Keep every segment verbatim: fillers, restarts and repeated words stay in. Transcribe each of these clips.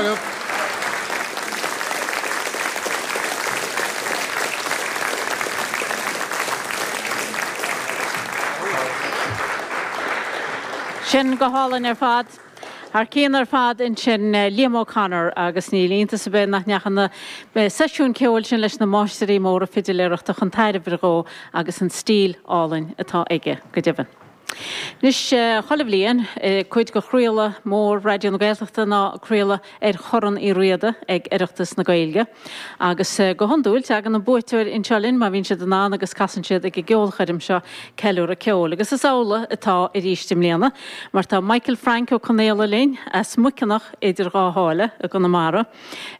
Maith agaibh. Sin go hálainn ar fad. Thar cionn ar fad ansin Liam O'Connor agus níl iontas ar bith nach ndeachaigh na seisiúin ceoil sin leis na máistirí móra fidiléireachta chun tairbhe dhó agus an stíl álainn atá aige, go deimhin. Anois, chuile bhliain, cuid de chraoladh mór Raidió na Gaeltachta ná craoladh ar Chorn Uí Riada ag Oireachtas na Gaeilge. Agus go hiondúil, tagann an buaiteoir anseo linn má bhíonn siad in ann agus casann siad ag an gceolchoirm seo Ceiliúradh Ceoil. Agus is amhlaidh atá arís i mbliana, mar tá Michael Frank Ó Conaola linn as Muiceanach idir Dhá Sháile i gConamara.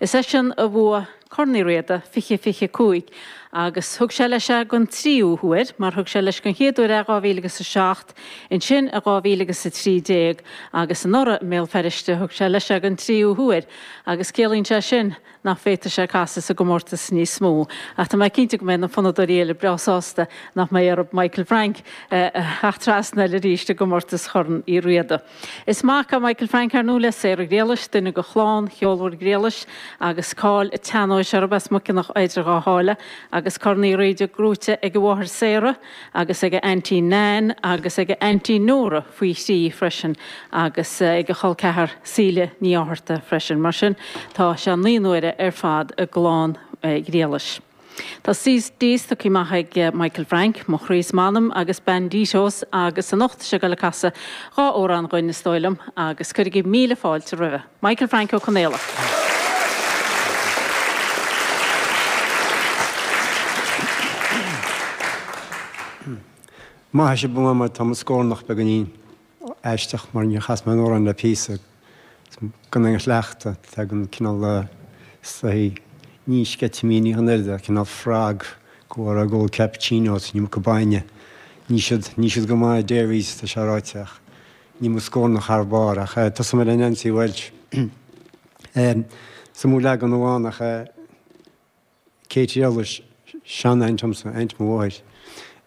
Is eisean a bhuaigh Corn Uí Riada fiche fiche a cúig agus thug sé leis é don tríú huair, mar thug sé leis don chéad uair é dhá mhíle agus a seacht, ansin i dhá mhíle agus a trí déag agus anuraidh i mBéal Feirste thug sé leis é don tríú huair agus ciallaíonn sé sin nach bhféadfaidh sé casadh sa gcomórtas níos mó. Ach tá mé cinnte go mbeidh na fonnadóirí eile breá sásta nach mbeidh orthu Michael Frank a theacht trasna arís i gcomórtas Chorn Uí Riada. Is mac é Michael Frank ar ndóigh le Sarah Ghriallais, duine de chlann cheolmhar Ghriallais agus cáil an tsean-nóis orthu as Muiceanach idir Dhá Sháile agus Corn Uí Riada gnóite ag a mháthair Sarah agus ag a aintín Nan agus ag a aintín Nóra faoi thrí freisin agus ag a chol ceathar Síle Ní Fhátharta freisin. Mar sin tá sé naoi n-uaire ar fad i gclann Ghriallais. Tá C Ds tugtha amach ag Michael Frank, Mo Chroí is M'Anam agus Banditos agus anocht tá sé ag dul ag casadh dhá amhrán dhuinn is dóigh liom agus cuirigí míle fáilte roimhe. Michael Frank Ó Conaola. Maith sibh mar tá mo scornach beagáinín aisteach mar níor chas mé an amhrán le píosa gan aon chleachtadh. Tagann cineál saghas ní sceitimíní an oiread ach cineál frog go bhfuair ag ól cappuccino is an iomarca bainne. Níl siad, níl siad go maith dairies tá sé ráite ach níl mo scornach thar barr ach tosóidh mé le Nancy Walsh. Is iomaí leagan amháin ach Katie Ellis, sean-aint agamsa, aint mo mháthair,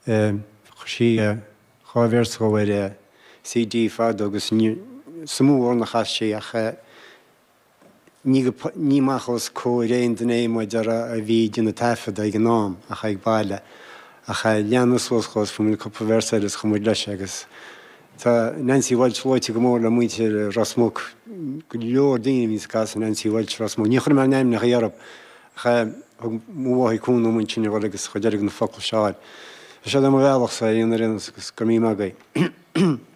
chuir sí dhá véarsa dhó ar C D fadó agus ní is iomaí amhrán a chas sí ach ní go, ní amach os comhair aon duine é mar a déarfá a bhí ag déanamh taifeadta ag an am ach ag baile. Ach leanadh suas dhó is fuair muid cúpla véarsa eile is chuaigh muid leis agus tá Nancy Walsh luaite go mór le muintir Ros Muc, go leor daoine a bhíonns ag casadh Nancy Walsh Ros Muc. Ní chuirfidh mé a n-ainmneacha orthu ach thug mo mháthair cúnamh dom ansin a dhul agus chuid eile de na focla seo a fháil. Tá siad ar mo bhealachsa ar aon ar aon nós agus go raibh míle maith agaibh.